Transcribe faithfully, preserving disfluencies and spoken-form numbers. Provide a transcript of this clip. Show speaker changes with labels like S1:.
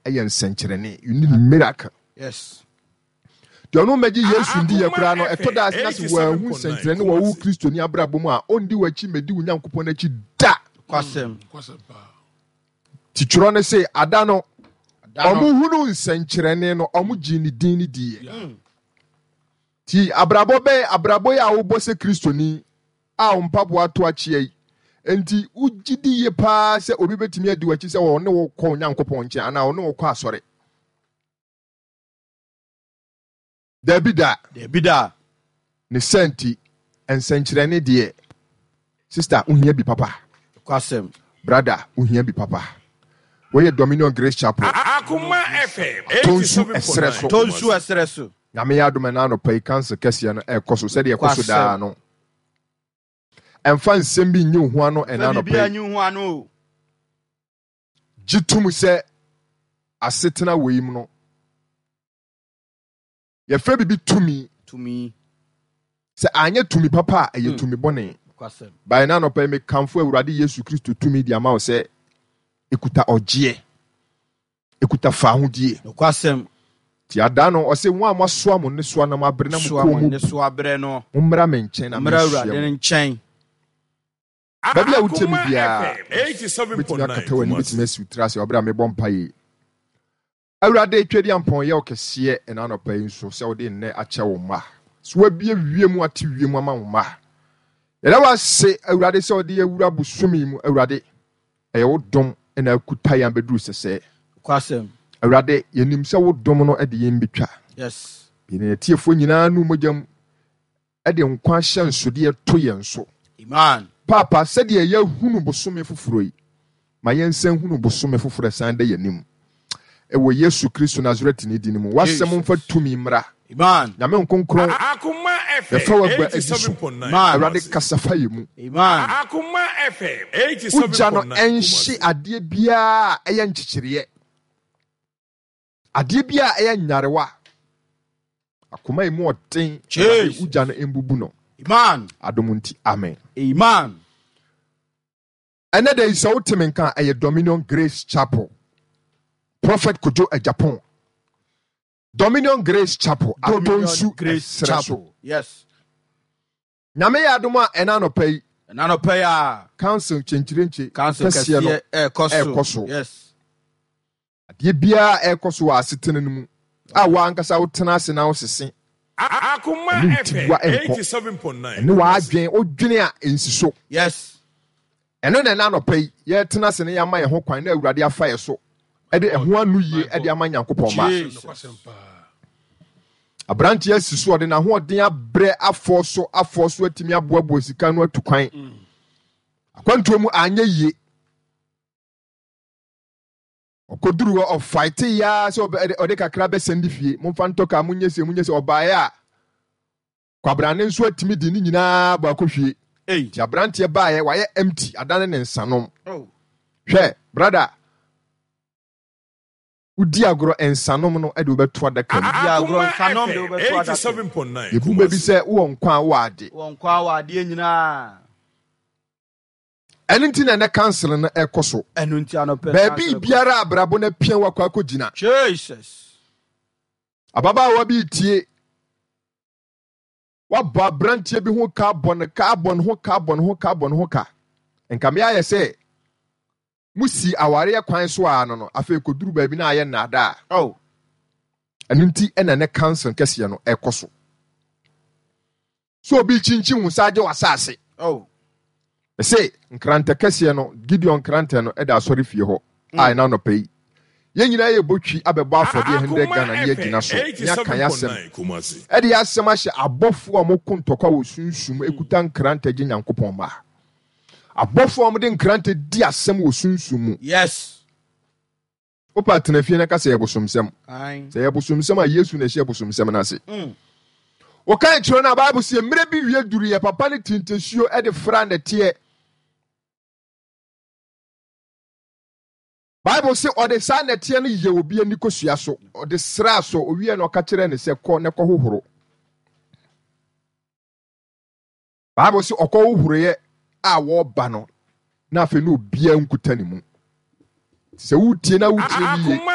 S1: Ɛyɛ nsɛnkyerɛnne. You need miracle.
S2: Yes.
S1: Deɛ ɔno mmɛgye Yesu ndi yɛ koraa no, ɛtɔ da ase na sɛ wɔanhu nsɛnkyerɛnne wɔ wo Kristoni abrabɔ mu a, ɔndi w'akyi mmɛdi wo Nyankopɔn akyi da.
S2: Kwasɛm.
S1: Ti twerɛ no se, ada no, ɔmo hunu nsɛnkyerɛnne no, ɔmo gyee ne din no diiɛ. Ti abrabɔ bɛn, abrabɔ yi a wobɔ sɛ Kristoni a wo mpaboa to akyea yi, enti wogye di yie paa sɛ obi bɛtumi adi w'akyi sɛ ɔne wo kɔ Onyankopɔn nkyɛn anaa ɔne wo kɔ asɔre? Dabi da.
S2: Dabi da.
S1: Ne sɛ nti, nsɛnkyerɛnne deɛ, sister, wohia bi papa.
S2: Kwasɛm.
S1: Brother, wohia bi papa. Wɔyɛ Dominion Grace Chapel.
S3: Akoma F M
S1: Tonsu ɛserɛ so.
S2: Tonsu ɛserɛ so.
S1: Nyame yɛ adom ɛna anɔpa yi council kɛseɛ no ɛrekɔ so sɛdeɛ ɛkɔ so daa no. Ɛmfa nsɛm bi nyi wo ho ano ɛna anɔpa yi.
S2: Nyi wo ho ano o.
S1: Gye tom sɛ asetena wɔ yi mu no, yɛfrɛ biribi tumi.
S2: Tumi.
S1: Sɛ anyɛ tumi papa a, ɛyɛ tumi bɔne.
S2: Kwasɛm.
S1: Bae na anɔpa yi mekamfo Awurade Yesu Kristo tumi de ama wo sɛ ekuta ɔgyeɛ, ekuta faahodie.
S2: Nokwasɛm.
S1: Ti ada no ɔse wɔn a moasoa mo nnesoa na moabrɛ na mo
S2: Soa
S1: kɔn
S2: mo
S1: mu
S2: nnesoa brɛ no.
S1: Mommra me nkyɛn na
S2: Mommra
S1: menhyia
S2: Awurade
S1: mo.
S2: no nkyɛn.
S1: Baabi a wotie me
S3: Akoma
S1: biara,
S3: F M eighty-seven
S1: wobɛtumi
S3: point nine
S1: akata w'ani,
S3: Kumasi.
S1: wobɛtumi asi wo tiri ase ɔberɛ a mebɔ mpaeɛ yi. Awurade, Tweaduampɔn, yɛ wo kɛseɛ ɛna anɔpa yi nso sɛ wode nnɛ akyɛ wo mma. So wabie wiem ate wiem ama wo mma. Yɛda wo ase, Awurade, sɛ wode awura bosome mu. Awurade, ɛyɛ wo dom na akuta yɛn abɛduru sɛsɛɛ.
S2: Kwasɛm.
S1: Awurade, yɛnim sɛ wo dom no de yɛn betwa.
S2: Yes.
S1: Yɛn atiefoɔ nyinaa nu mogya mu de nkwa ahyɛnsodeɛ to yɛn so.
S2: Amen.
S1: Papa, sɛdeɛ yɛahunu bosome foforɔ yi, ma yɛnsan hunu bosome foforɔ ɛsan da yɛn anim. Ɛwɔ Yesu Kristo Nasaretni din mu. W'asɛm mfa tumi mmra.
S2: Amen.
S1: Nyame nkonkron,
S3: Akoma F M
S1: yɛfa w'agua adi so.
S3: eighty-seven point nine
S2: Amen.
S1: Awurade kasa fa yɛn mu.
S2: Amen.
S3: Akoma F M eighty-seven
S1: Wogya no
S3: point nine
S1: ɛnhye
S3: Kumasi.
S1: adeɛ biara a ɛyɛ nkyekyereɛ. Adeɛ biara a ɛyɛ nyarewa. Akoma yi mu ɔden.
S2: Jesus.
S1: Awurade, wogya no mbubu no.
S2: Amen.
S1: Adom nti, amen.
S2: Amen.
S1: Ɛnɛ da yi sɛ wote me nka a, ɛyɛ Dominion Grace Chapel. Prophet Kojo Agyapong. Dominion Grace Chapel.
S2: Dominion
S1: Atonsu
S2: Grace
S1: ɛserɛ so.
S2: Chapel. Yes.
S1: Nyame yɛ adom a ɛna anɔpa yi.
S2: Ɛna anɔpa yi a.
S1: Council nkyenkyerenkye
S2: Council
S1: kɛseɛ no
S2: kɛseɛ ɛrekɔ so.
S1: ɛrekɔ so.
S2: Yes.
S1: Adeɛ biara ɛrekɔ so wɔ asetena no mu a wɔankasa wotena ase na wosese.
S3: Akoma
S1: Ɛne
S3: F M
S1: tiboa ɛnkɔ.
S3: eighty-seven point nine.
S1: Ɛne w'adwen, wodwene a ɛnsi so.
S2: Yes.
S1: Ɛno na ɛna anɔpa yi yɛtena ase na yɛama yɛn ho kwan na Awurade afa yɛ so. Ɛde ɛho ano yie ɛde ama Nyankopɔn mma.
S2: Jesus.
S1: Aberanteɛ asi so ɔde n'ahoɔden abrɛ afɔ so afɔ so atumi aboaboa sika no atu kwan. Akwantuo mu anyɛ yie. Ɔkɔduru hɔ ɔfaete yaa sɛ ɔbɛ-, ɔde kakra bɛsɛn de fie. Momfa ntɔ kaa, monyɛ se, monyɛ se, ɔbaeɛ a kwabrane nso atumi de ne nyinaa bɔ akɔhwie.
S2: Ei.
S1: Nti aberanteɛ baeɛ wayɛ empty adane ne nsanom.
S2: Oh.
S1: Hwɛ, brother, wodi agorɔ nsanom no de wobɛto adaka mu.
S2: Wodi agorɔ
S3: Akoma
S2: nsanom de
S3: F M
S2: wobɛto adaka mu.
S3: eighty-seven point nine
S1: Yɛbu baabi sɛ wowɔ nkwa a wowɔ ade.
S2: Wowɔ nkwa a wowɔ adeɛ nyinaa.
S1: Ɛno nti na ɛnɛ council no ɛkɔ so.
S2: Ɛno nti anɔpɛ
S1: Baabi
S2: council kɔ.
S1: biara abrabɔ no apia wakɔ akɔgyina.
S2: Jesus.
S1: Ababaawa bi tie. Wabɔ aberanteɛ bi ho ka, bɔ ne ka, bɔ ne ho ka, bɔ ne ho ka, bɔ ne ho ka. Nka me ayɛ sɛ musi awareɛ kwan so a no no, afei kɔduru baabi na ayɛ nnaadaa.
S2: Oh.
S1: Ɛno nti ɛna ɛnɛ council kɛseɛ no ɛkɔ so. So obi kyinkyin wo nsa agye w'asase.
S2: Oh.
S1: Ɛsɛ nkrantɛ kɛseɛ no, Gideon nkrantɛ no ɛda asɔre fie hɔ a
S2: Mm.
S1: ɛna anɔpa yi. Yɛn nyinaa yɛ bɔtwi abɛbɔ afɔdeɛ hundred
S3: Akoma
S1: Ghana ne yɛgyina so.
S3: F M
S1: Ne aka yɛ asɛm.
S3: eighty-seven point nine Kumasi.
S1: Ɛde yɛ asɛm ahyɛ abɔfoɔ a wɔko ntɔkwa wɔ sunsum ekuta nkrantɛ gye Nyankopɔn mma. Abɔfoɔ a wɔde nkrantɛ di asɛm wɔ sunsum mu.
S2: Yes.
S1: Wopa tena fie na ka sɛ yɛ bosomsɛm.
S2: Aye.
S1: Sɛ yɛ bosomsɛm a Yesu na ɛhyɛ bosomsɛm no ase.
S2: Mm.
S1: Wɔka kyerɛ no a Bible sɛ mmerɛ bi wie duru yɛ papa ne tintasuo ɛde fra nɛteɛ. Bible sɛ ɔde saa nɛteɛ no yɛ obi ani kosua so. Ɔde sraa so owie na ɔka kyerɛ ne sɛ kɔ na kɔ hohoro. Bible sɛ ɔkɔ hohoroeɛ a wɔreba no na afei na obiara nkuta ne mu. Sɛ wotie na wotie ne yie.
S3: Akoma